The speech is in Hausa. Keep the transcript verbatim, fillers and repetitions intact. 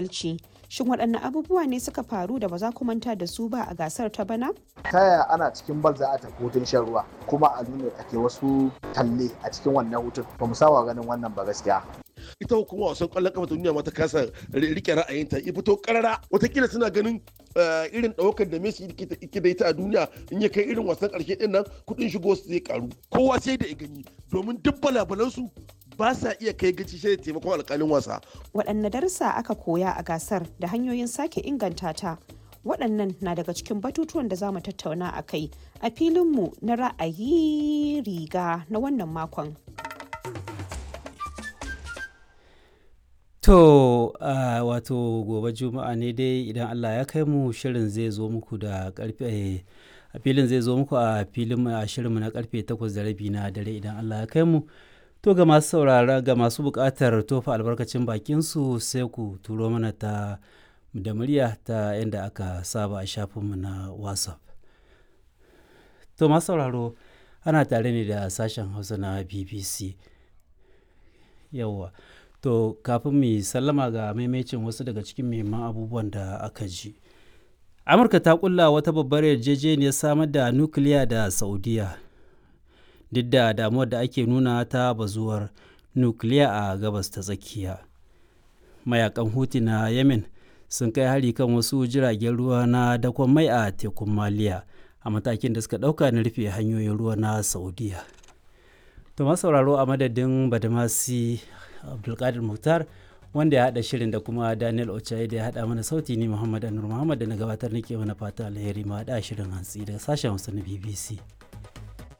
Adalci. Shin waɗanne abubuwa ne suka faru da ba za ku manta da su ba a gasar ta bana? Ta yaya ana cikin bal za a tafi hutun shan ruwa kuma a nuna ake wasu talle a cikin wannan hutun? Ba mu saba ganin wannan ba gaskiya. Ita hukumar wasan kwallon kafa ta duniya ma ta kasa rike ra'ayinta ya fito karara. Watakila suna ganin irin ɗaukar da Messi yake da ita a duniya, in ya kai irin wasan ƙarshe ɗin nan, kuɗin shigo su zai karu. Kowa sai da ya gani, domin duk balabalansu ba sa iya kai gaci sai da taimakon alƙalin wasa. Waɗanne darussa aka koya a gasar da hanyoyin sake inganta ta? Waɗannan na daga cikin batutuwan da za mu tattauna a kai a filinmu na ra'ayi riga na wannan makon. To, uh, wato gobe Juma'a ne dai idan Allah ya kai mu, shirin zai zo muku da karfe a filin zai zo muku a filin a shirinmu na karfe takwas da rabi na dare idan Allah ya kai mu. To, ga masu saurara, ga masu buƙatar tofa albarkacin bakin su, sai ku turo mana ta da murya ta yadda aka saba a shafinmu na WhatsApp. To, masu sauraro, ana tare ne da sashen Hausa na B B C. Yawwa. To, kafin mu sallama, ga maimacin wasu daga cikin muhimman abubuwan da aka ji. Amurka ta kulla wata babbar yarjejeniyar samar da nukiliya da Saudiya, duk da damuwar da ake nuna ta bazuwar nukiliya a Gabas ta Tsakiya. Mayakan Huti na Yemen sun kai hari kan wasu jiragen ruwa na dakon mai a tekun Maliya, a matakin da suka ɗauka na rufe hanyoyin ruwa na Saudiya. To, sauraro, a madadin Badamasi Abdulkadir Muhtar wanda ya haɗa shirin da kuma Daniel Ochaye da ya haɗa mana sauti, ni Muhammad Anur Muhammad da na gabatar nake mana fata alheri, ma haɗa shirin hantsi daga sashen Hausa na B B C.